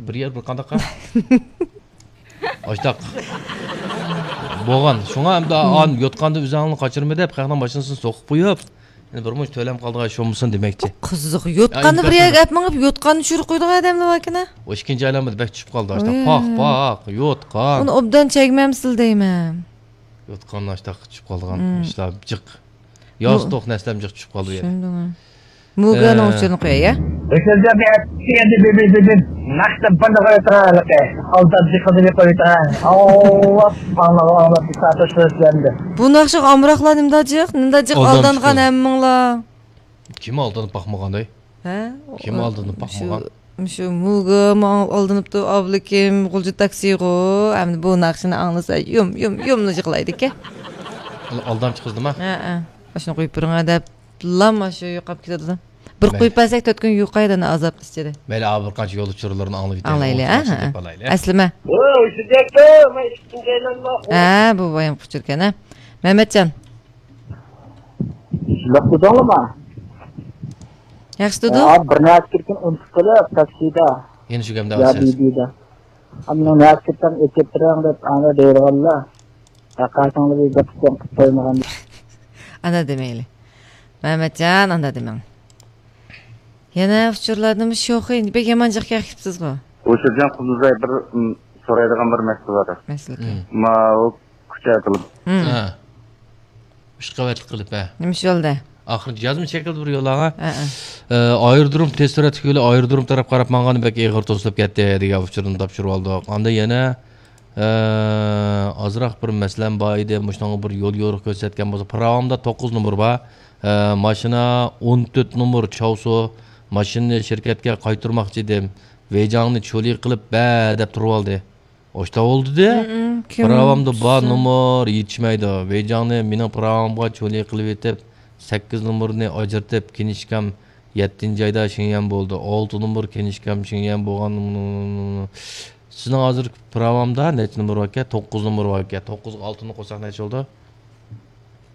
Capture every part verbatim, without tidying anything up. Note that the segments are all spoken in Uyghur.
بىر يەر بىر قانداق؟ ئاشتاق. بولغان. شۇڭا ئەمدى، ئان يوتقاندا ئۆزۈڭنى قاچۇرما دەپ، خەقنىڭ ماشىنىسىنى سوقۇپ قويۇپ، يەنە بىر مۇنچە تۆلەم قالدىغان ئىش بولمىسۇن دېمەكچى. قىزىق. يوتقاننى بىر يەرگە ئەپ مېڭىپ، يوتقاننى چۈشۈرۈپ قويىدىغان ئادەملەر باركەن-ە. ئۇ ئىككىنچى ئايلانمىدا بەك چۈشۈپ قالدى، ئاشتاق. پاق، پاق، يوتقان. ئۇنى ئوبدان چەگمەمسىلە دەيمەن. يوتقان ئاشتاق چۈشۈپ قالىدىغان ئىشلار جىق. ياستۇق نەرسىلەرمۇ جىق چۈشۈپ قالدى بۇ يەردە. چۈشەندىڭ. مۇگانىڭ ئۇچۇرىنى قوياي، يا؟ ئۆشۈرگەن بىر ئەتىگەندە بىر، بىر، بىر، بىر. ناخشا بىرنى قويۇۋېتىڭ، ھېلىقى. ئالداپ جىقىدىنى قويۇۋېتىڭ. ئاللاھ، ئاڭلاپ، ئاڭلاپ، بىر سائەت ئوشۇرۇپ بەردى. بۇ ناخشىغا ئامراقلار نېمىدا جىق؟ نېمىدا جىق ئالدامچى ئالدانغان قىز. ھەممىڭلار؟ كىم ئالدىنىپ باقمىغانداي؟ ھە؟ كىم ئالدىنىپ باقمىغان؟ مۇشۇ، مۇشۇ مۇگا ماڭا ئالدىنىپتۇ، ئابلىكىم، غۇلجا تاكسىغۇ. ئەمدى بۇ ناخشىنى ئاڭلىسا، يۇم، يۇم، يۇملا يىغلايدىكەن. ئال-، ئالدامچى قىز نېمە؟ ھە، ھە. ئاشۇنى قويۇپ بېرىڭە دەپ. لام شۇ يوقاپ كېتىدۇ. بىر مەيلى. قويۇپ بەرسەك، تۆت كۈن يوقايدۇ ئانا ئازابنىڭ ئىچىدە. مەيلى، ئا، بىر قانچە يول ئۇچۇرلىرىنى ئاڭلىۋېتەيلى. ئاڭلايلى، ھە، ھە. ئەسلىمە. ۋوي، شۇ گەپتۇ، مەن ئىككىنچى ئايلانما. ھە، بۇ بايام ئۇچۇركەن، ھە. مەمەتجان. شۇنداق دېدىڭلىما؟ ياخشى دېدۇ. ھە، بىر نەچچە كۈن ئۇنتۇپ قېلىپ، تاكسىدا. يەنە شۇ گەپنى يا ئاڭلىسىز. بىبىدا. ئانا نەچچە كۈن ئېچىپ بېرىڭ دەپ، ئانا دەيدىغانلا. ھەقىقەتىڭلار بىر گەپ قىلىپ قويمىغان. ئانا دېمەيلى. مەمەتجان، ئانا دېمەڭ. يەنە ئۇچۇرلاردىمۇ شوخى، بەك يامان جىق كەپسىزغۇ. ھوشۇرجان قۇدۇزاي بىر، م، سورايدىغان بىر مەسىلە بار. مەسىلە. مم. ماۋۇ كۇچا قىلىپ. مم. ھە. ئۈچ قەۋەتلىك قىلىپ، ھە. نېمە ئىش بولدى؟ ئاخىرىدا يازما شەكىلدە بىر يوللانغان. ھە، ھە. ئە، ئايرودروم تېز سۈرئەتلىك يولى ئايرودروم تەرەپ قاراپ ماڭغان بەك ئېغىر توسۇلۇپ كەتتى دېگەن ئۇچۇرنى تاپشۇرۇۋالدۇق. ئاندىن يەنە ئە، ئازراق بىر مەسىلەم بار ئىدى، مۇشۇنىڭغا بىر يول يورۇق كۆرسەتكەن بولسا. پىراۋامدا توققۇز نومۇر بار. ئە، ماشىنا ئون تۆت نومۇر چاۋسۇ. ماشىنىنى شىركەتكە قايتۇرماقچى ئىدىم. ۋېيجاڭنى چولى قىلىپ بەر دەپ تۇرۇۋالدى. ئاشتا بولدى دە. مم، كىم پىراۋامدا بار تۇتسا؟ نومۇر يېتىشمەيدۇ. ۋېيجاڭنى مېنىڭ پىراۋامغا چولى قىلىۋېتىپ، سەككىز نومۇرنى ئاجرىتىپ، كىنىشكام يەتتىنچى ئايدا شېڭيەن بولدى. ئالتە نومۇر كىنىشكام شېڭيەن بولغان. سىزنىڭ ھازىر پىراۋامدا نەچچە نومۇر باركەن؟ توققۇز نومۇر باركەن. توققۇزغا ئالتىنى قوشساق نەچچە بولدى؟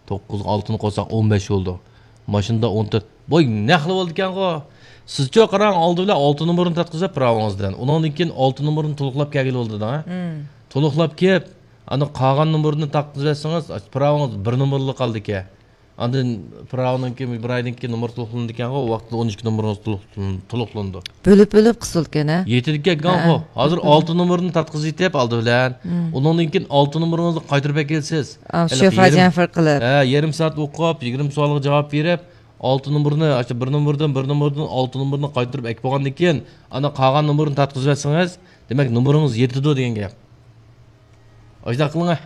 توققۇزغا ئالتىنى قوشساق ئون بەش بولدى. ماشىنىدا ئون تۆت. بوي، نەقلى بولىدىكەنغۇ. سىزچۇ قاراڭ، ئالدى بىلەن ئالتە نومۇرنى تارتقۇزۇپ پىراۋىڭىزدىن. ئۇنىڭدىن كېيىن ئالتە نومۇرنى تولۇقلاپ كەلگىلى بولىدۇ، ھە؟ مم. تولۇقلاپ كېلىپ، ئاندىن قالغان نومۇرنى تارتقۇزۇۋەتسىڭىز، پىراۋىڭىز بىر نومۇرلا قالىدىكەن. ئاندىن پىراۋنىڭكى، بىر ئايدىن كېيىن نومۇر تولۇقلىنىدىكەنغۇ، ئۇ ۋاقىتتا ئون ئىككى نومۇرىڭىز تولۇق-، تولۇقلىنىدۇ. بۆلۈپ، بۆلۈپ قىسىلىدىكەن، ھە؟ يېتىدىكەن ھە، گاڭخو. ھە. ھازىر ئالتە نومۇرنى تارتقۇزۇۋېتىپ ئالدى بىلەن. مم. ئۇنىڭدىن كېيىن ئالتە نومۇرىڭىزنى قايتۇرۇپ ئەكەلسىز. ئا، ھېلىقى شوفا يېرىم، جەنفىر قىلىپ. ھە، يېرىم سائەت ئوقۇپ، يىگىرمە سوئالغا جاۋاب بېرىپ، ئالتە نومۇرنى، ئاشۇ بىر نومۇردىن، بىر نومۇردىن ئالتە نومۇرنى قايتۇرۇپ ئەكىپ بولغاندىن كېيىن، ئانا قالغان نومۇرنى تارتقۇزۇۋەتسىڭىز، دېمەك، نومۇرىڭىز يېتىدۇ دېگەن گەپ. ئاشۇنداق قىلىڭە.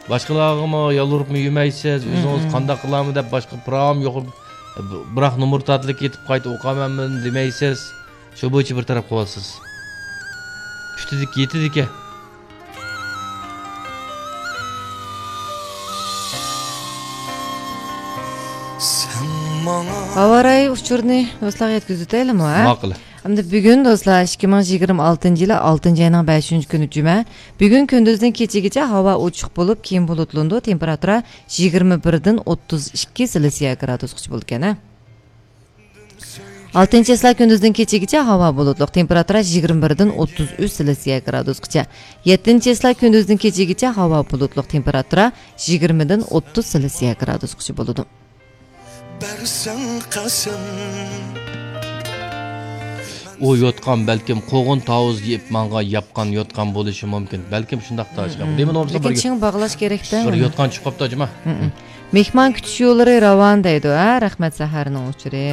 باشقىلارغىمۇ يالۋۇرۇپمۇ يۈرمەيسىز، ئۆزىڭىز مم. قانداق قىلارمۇ دەپ باشقا پىراۋام يوق. بىراق نومۇر تارتىلىپ كېتىپ قايتا ئوقۇيمەنمۇ دېمەيسىز. شۇ بويىچە بىر تەرەپ قىلىۋالىسىز. پۈتىدىكى، يېتىدىكى. ھاۋا رايى ئۇچۇرىنى دوستلارغا يەتكۈزۈۋېتەيلىمۇ، ھە؟ ماقۇل. ئەمدى بۈگۈن دوستلار، ئىككى مىڭ يىگىرمە ئالتىنچى يىلى ئالتىنچى ئاينىڭ بەشىنچى كۈنى جۈمە. بۈگۈن كۈندۈزدىن كېچىگىچە ھاۋا ئوچۇق بولۇپ، كېيىن بۇلۇتلىنىدۇ. تېمپېراتۇرا يىگىرمە بىردىن ئوتتۇز ئىككى سېلسىيە گرادۇسقىچە بولىدىكەن، ھە؟ ئالتىنچى چىسلا كۈندۈزدىن كېچىگىچە ھاۋا بۇلۇتلۇق، تېمپېراتۇرا يىگىرمە بىردىن ئوتتۇز ئۈچ سېلسىيە گرادۇسقىچە. يەتتىنچى چىسلا كۈندۈزدىن كېچىگىچە ھاۋا بۇلۇتلۇق، تېمپېراتۇرا يىگىرمىدىن ئوتتۇز سېلسىيە گرادۇسقىچە بولىدۇ. بەرسەڭ قەسەم. ئۇ يوتقان بەلكىم قوغۇن تاۋۇز يېيىپ ماڭغان ياپقان يوتقان بولۇشى مۇمكىن. بەلكىم شۇنداقتا، مم، ئاشۇنداق. مم. دېمە نومۇرسىغا لېكىن بىر، چىڭ باغلاش كېرەكتە بىر ئۇنى. يوتقان چىقىپ قاپتۇ، جۇما. مم، مم. مېھمان كۈتۈش يوللىرى راۋان دەيدۇ، ھە؟ رەھمەت سەھەرنىڭ ئۇچۇرى.